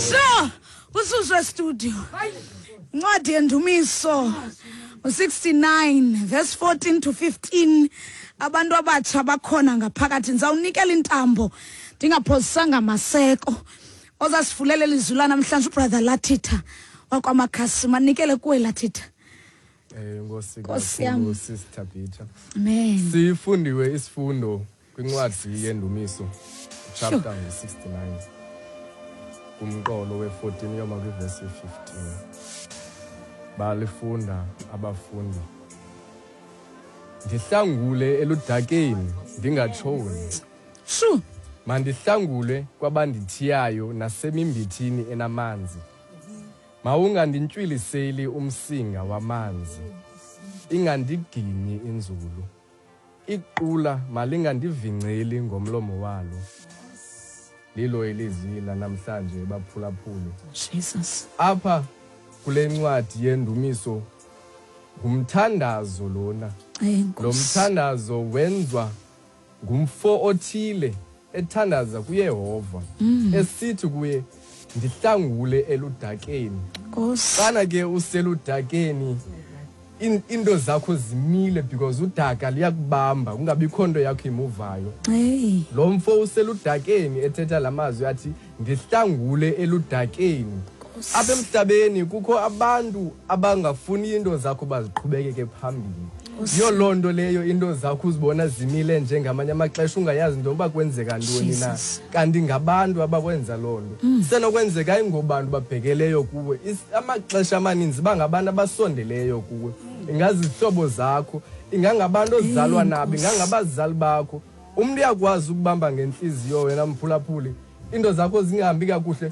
Sure, ususwe studio. Incwadi yendumiso 69 verse 14 to 15. Abantu abatsha bakhona ngaphakathi, ndizawunikela intambo ndingaphozisanga maseko ozasifulela ilizwi lanamhlanje, uBrother Lathitha wakwaMakhasi. Manikele kuwe, Lathitha. Nkosi Nkosi yam. kakhulu, Sister Peter. Amen. Sifundiwe isifundo kwincwadi yendumiso, chapter 69, kumqolo we-14 uyoma kwivesi 15. Balifunda abafundi. Ndihlangule eludakeni ndingatshoni. Shu. Mandihlangule kwabandithiyayo nasemimbithini enamanzi. Mawunganditywiliseli umsinga wamanzi. Ingandiginyi inzulu. Iqula malingandivingceli ngomlomo walo. Lilo ilizwi lanamhlanje, baphulaphuli. Jesus. Apha kule ncwadi yendumiso ngumthandazo lona. Lo Nkosi. mthandazo wenziwa ngumfo othile ethandaza kuYehova, esithi kuye, "Ndihlangule eludakeni." Nkosi. Xana ke useludakeni, into zakho zimile because udaka liyakubamba, kungabikho nto yakho imuvayo. Hey. Lo mfo useludakeni ethetha la mazwi athi, "Ndihlangule eludakeni." Nkosi. Apha emhlabeni kukho abantu abangafuni into zakho baziqhubekeke phambili. Nkosi. Yiyo loo nto leyo into zakho uzibona zimile njengamanye amaxesha, ungayazi into yoba kwenzeka ntoni na. Jesus. Kanti ngabantu abakwenza loo nto. Isenokwenzeka ayingobantu babhekeleyo kuwe. Amaxesha amaninzi bangabantu abasondeleyo kuwe, ingazizihlobo zakho, ingangabantu ozalwa nabo, Nkosi. ingangabazali bakho. Umntu uyakwazi ukubamba ngentliziyo wena, mphulaphuli, into zakho zingahambi kakuhle.